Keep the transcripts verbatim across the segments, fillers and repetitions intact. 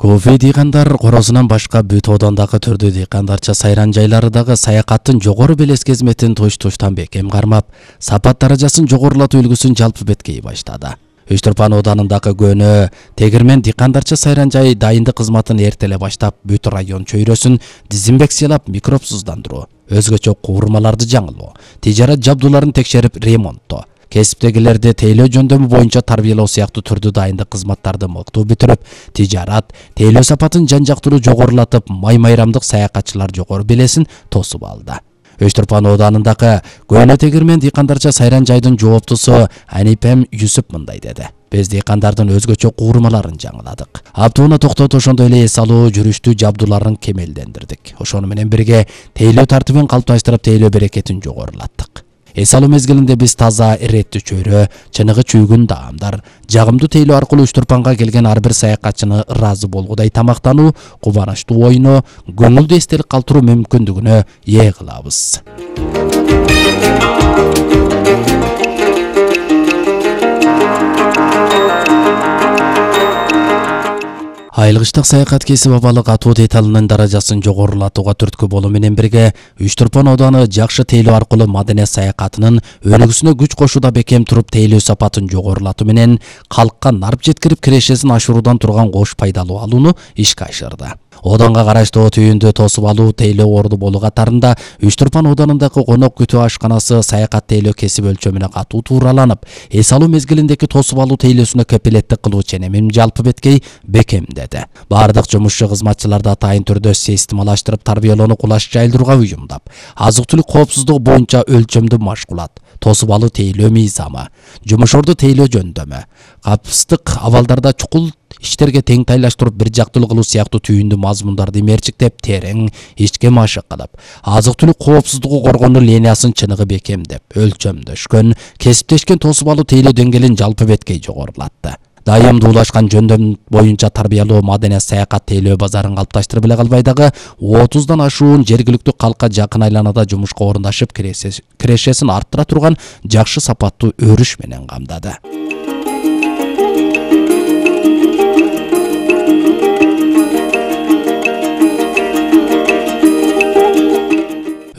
Кофе дыйкандар корозунан башка бүт одондагы түрдүү дыйкандарча сайран жайлары дагы саякаттын жогору белес кезметин туш-туштан бекем кармап, сапат даражасын жогорулатуу үлгүсүн жалпы беткей баштады. Үч Турпан оданындагы көнө тегирмен дыйкандарча сайран жай дайындык кызматын эртеле баштап, бүт район чөйрөсүн дезинфекциялап, микробсуздандыруу, өзгөчө куурмаларды жаңылоо, тижарат жабдууларын текшерип ремонттоо, кесиптегилерди тейлөө жөндөмү боюнча тарбиялоо сыяктуу түрдүү дайындык кызматтарды мыктуу бүтүрүп, тижарат, тейлөө сапатын жан-жактуу жогорулатып, май-майрамдык саякатчылар жогору белесин тосуп алды. Үч Турпан оданындагы көнө тегирмен дыйкандарча сайран жайдын жооптусу Анипем Юсуп мындай деди: Биз дыйкандардын өзгөчө куурмаларын жаңыладык. Аптууна токтотуп, ошондой эле эс алуу жүрүштүү жабдууларын кемелдендирдик. Ошону менен бирге тейлөө тартибин калыпташтырып, тейлөө берекетин жогорулаттык. Эс алуу мезгилинде биз таза, эреттүү чөйрө, чыныгы чүйгүн даамдар, жагымдуу тейлөө аркылуу Үч Турпанга келген ар бир саякатчыны ыраазы болгудай тамактануу, кубанычтуу ойноо, көңүлдүү эстелик калтыруу мүмкүндүгүнө ээ кылабыз. Айылгычтык саякат кесип абалы катуу деталынын даражасын жогорулатууга түрткү болуу менен бирге Үч Турпан оданы жакшы тейлөө аркылуу маданият саякатынын өнүгүүсүнө күч кошууда бекем туруп, тейлөө сапатын жогорулатуу менен калкка нарп жеткирип кирешесин ашыруудан турган кош пайдалуу алууну ишке ашырды. Одонго караштуу түйүндү тосуп алуу тейлөө орду болуу катарында Үч Турпан оданындагы конок күтүү ашканасы саякат тейлөө кесип өлчөмүнө катуу туураланып, эс алуу мезгилиндеги тосуп алуу тейлөөсүнө кепилеттик кылуу ченемин жалпы беткей бекемдеди. Бардык жумушчу кызматчыларды атайын түрдө системалаштырып, тарбиялоону кулаш жайылдырууга уюмдап, азык-түлүк коопсуздугу боюнча өлчөмдүү машгулат, тосуп алуу тейлөө мыйзамы, жумуш орду тейлөө жөндөмү, капыстык абалдарда чукул иштерге тең тайлаштырып, бир жактылуу кылуу сыяктуу түйүндүү мазмундарды мерчиктеп, терең ишке машык кылып, азык-түлүк коопсуздугу коргонуу линиясын чыныгы бекемдеп, өлчөмдөшкөн, кесиптешкен тосуп алуу тейлөө деңгээлин жалпы беткей жогорулатты. Дайымдуулашкан жөндөм боюнча тарбиялоо маданият саякат тейлөө базарын калыпташтырып эле калбай дагы отуздан ашуун жергиликтүү калкка жакын айланада жумушка орундашып, кирешесин арттыра турган жакшы сапаттуу өрүш менен камдады.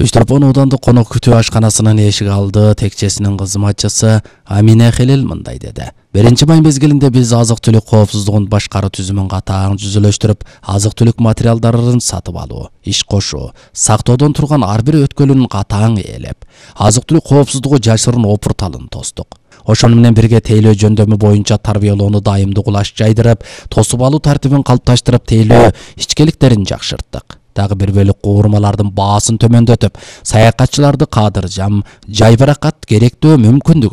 Үч Турпан одандык конок күтүү ашканасынын эшик алды текчесинин кызматчысы Амина Хелел мындай деди: Биринчи май мезгилинде биз азык-түлүк коопсуздугун башкаруу түзүмүн катаң жүзүлөштүрүп, азык-түлүк материалдарын сатып алуу, иш кошуу, сактоодон турган ар бир өткөлүн катаң ээлеп, азык-түлүк коопсуздугу жашырын опурталын тостук. Ошону менен бирге тейлөө жөндөмү боюнча тарбиялоону дайымдуу кулаш жайдырып, тосуп алуу тартибин калыпташтырып, тейлөө ичкеликтерин жакшырттык. Дагы бир бөлүк куурмалардын баасын төмөндөтүп, саякатчыларды кадыржам, жайбаракат керектөө мүмкүндүгүн